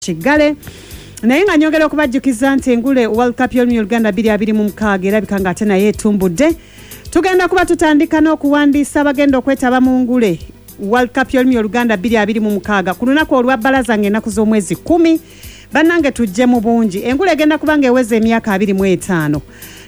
Tukiggale. Naye nga nyongera okubajjukiza nti engule World Cup y'olulimi Oluganda 2026 erabika ng'ate naye etumbudde. Tugenda kuba tutandika n'okuwandiisa abagenda okwetaba mu ngule World Cup y'olulimi Oluganda 2026 ku lunaku olwa bbalaza ng'ennaku z'omwezi 10. Bannange tujje mu bungi. Engule egenda kuba ng'eweza emyaka 25.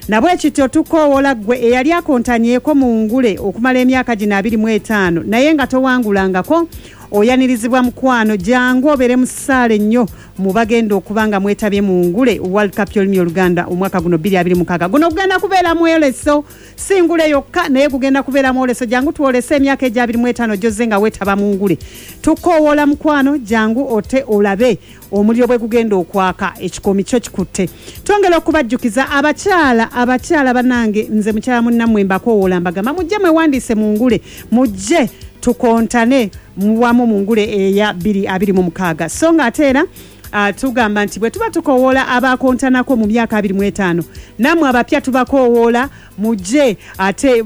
Nabwe kityo tukoowoola ggwe eyali akontanyeeko mu ngule okumala emyaka gino 25 naye nga towangulangako, oyanirizibwa mukwano, jangu obeere mu ssaala ennyo mu bagenda okuba nga mwetabye mu ngule World Cup y'olulimi Oluganda omwaka guno 2026. Guno gugenda kubeera mwoleso, si ngule yokka naye gugenda kubeera mwoleso. Jangu twolese emyaka egya 25 gy'ozze nga weetaba mu ngule. Tukoowoola mukwano, jangu ote olabe omuliro bwe gugenda okwaka, ekikoomi kyo kikutte. Twongera okubajjukiza abakyala, abakyala bannange, nze mukyala munnammwe mbakoowoola mbagamba mujje mwewandiise mu ngule, mujje tukontane wamu mu ngule eya 2026. So nga ate era tugamba nti bwe tuba tukoowoola abakontanako mu myaka 25, nammwe abapya tubakoowoola mujje ate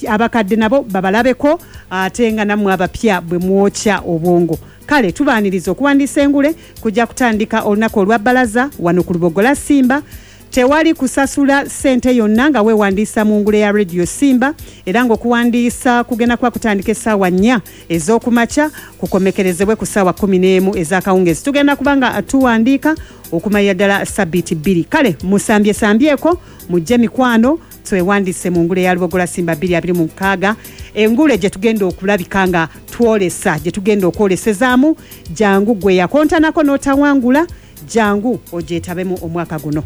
abakadde nabo babalabeko, ate nga nammwe abapya bwe mwokya obwongo. Kale tubaaniriza okuwandiisa engule kujja kutandika olunaku olwa bbalaza wano ku Lubogola Simba. Tewali kusasula ssente yonna nga weewandiisa mu ngule ya Radio Simba, era ng'okuwandiisa kugenda kuba kutandika essaawa 4 ez'okumakya kukomekerezebwe ku ssaawa 11 ez'akawungeezi. Tugenda kuba nga tuwandiika okumalira ddala sabbiiti 2. Kale musambyesambyeko, mujje mikwano twewandiise mu ngule ya Lubogola Simba 2026, engule gye tugenda okulabika nga twolesa, gye tugenda okwolesezaamu. Jangu gwe yakontanako n'otawangula, jangu ogyetabemu omwaka guno.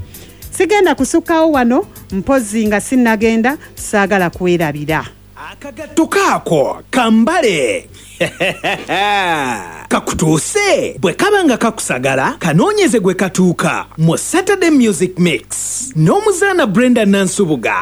Sigenda kusukkawo wano, mpozzi nga sinnagenda saagala kwerabira. Akagatto kaako kambale Kakutuuse bwe kaba nga kakusagala kanoonyeze gwe katuuka mu Saturday Music Mix n'omuzaana Brenda Nansubuga.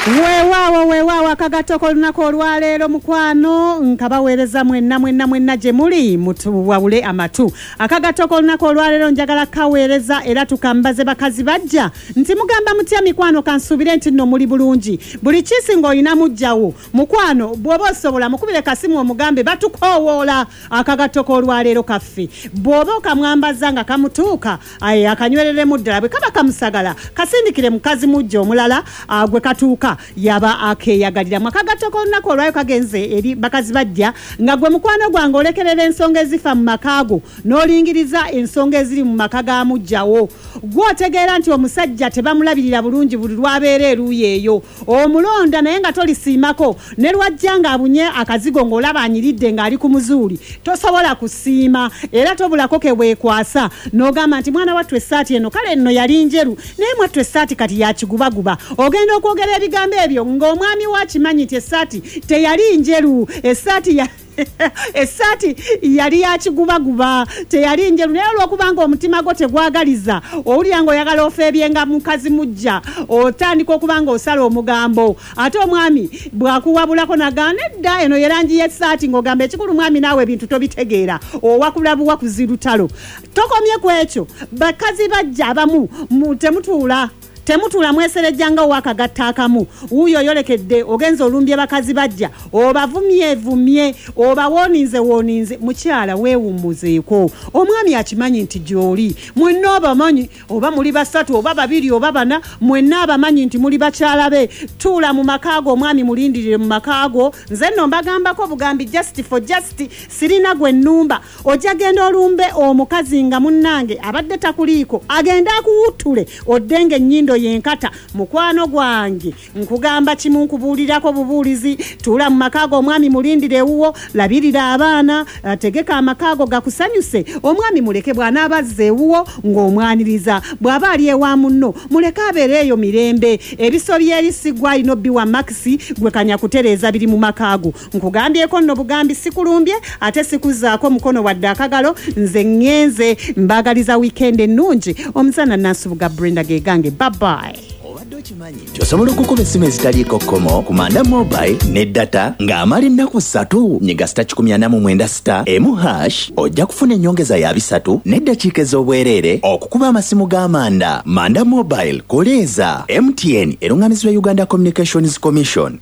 Weewaawo weewaawo akagatto k'olunaku olwaleero mukwano nkabaweereza mwenna mwenna mwenna gye muli mutuwawule amatu. Akagatto k'olunaku olwaleero njagala kaweereza era tukambaze bakazi bajja nti mugamba mutya mikwano, kansuubire nti nno muli bulungi. Buli kiisi ng'olina muggyawo mukwano, bw'oba osobola mukubire kasimu omugambe batukoowoola akagatto k'olwaleero kaffe. Bw'oba okamwambaza nga kamutuuka, aye akanywereremu ddala, bwe kaba kamusagala kasindikire mukazi mujja omulala gwe katuuka yaba akeeyagaliramu. Akagatto k'olunaku olwayo kagenze eri bakazi bajja nga gwe mukwano gwange olekerera ensonga ezifa mu maka go n'olingiriza ensonga eziri mu maka ga muggyawo. Gwe otegeera nti omusajja tebamulabirira bulungi buli lw'abeera eruuyi eyo, omulonda naye nga tolisiimako, ne lwajja ng'abunye akazigo ng'olaba anyiridde ng'ali ku muzuuli, tosobola kusiima era tobulako ke weekwasa n'ogamba nti mwana wattu essaati eno kale nno yali njeru naye mwattu essaati kati ya kigubaguba. Ogenda okwogera ebigambo ebyo ng'omwami wo akimanyi nti essaati teyali njeru, essaati ya essaati yali ya kigubaguba, teyali njeru, naye olw'okubanga omutima gwo tegwagaliza, owulira ng'oyagala ofeebyenga mukazi mujja, otandika okuba ng'osala omugambo. Ate omwami bw'akuwabulako n'agamba nedda eno ye langi y'essaati, ng'ogamba ekikulu mwami naawe ebintu tobitegeera, owakula buwakuzi lutalo. Tokomye ku ekyo, bakazi bajja abamu temutuula temutuula mweserejja nga ow'akagatta akamu. Wuuyo oyolekedde ogenze olumbye bakazi bajja, obavumyevumye, obawooninzewooninze. Mukyala weewummuzeeko, omwami akimanyi nti gy'oli, mwenna obamanyi, oba muli basatu oba babiri oba bana, mwenna abamanyi nti muli bakyala be. Tuula mu maka go, omwami mulindirire mu maka go. Nze nno mbagambako bugambi just for just, sirina gwe nnumba. Ojja genda olumbe omukazi nga munnange abadde takuliiko, agende akuwuttule odde ng'ennyindo y'enkata. Mukwano gwange nkugamba kimu, nkubuulirako bubuulizi, tuula mu maka go, omwami mulindire ewuwo, labirira abaana, tegeka amaka go gakusanyuse. Omwami muleke bw'anaaba azze ewuwo ng'omwaniriza, bw'aba ali ewa munno muleke abeere eyo mirembe. Ebisobyo eri si ggwe alina obbiwa makisi, gwe kanya kutereeza biri mu maka go. Nkugambyeko nno bugambi, sikulumbye ate sikuzzaako mukono wadde akagalo. Nze ŋŋenze, mbaagaliza wiikendi ennungi. Omuzaana Nansubuga Brenda gegange, bye bye. Obadde okimanyi nti osobola okukuba essimu ezitaliiko kkomo ku Manda Mobile ne data ng'amala ennaku ssatu? Nyiga sita kikumi ana mu mwenda sita emu hash ojja kufuna ennyongeza ya bisatu n'eddakiika ez'obwereere okukuba amasimu ga Manda. Manda Mobile, koleeza. MTN erung'amizibwa Uganda Communications Commission.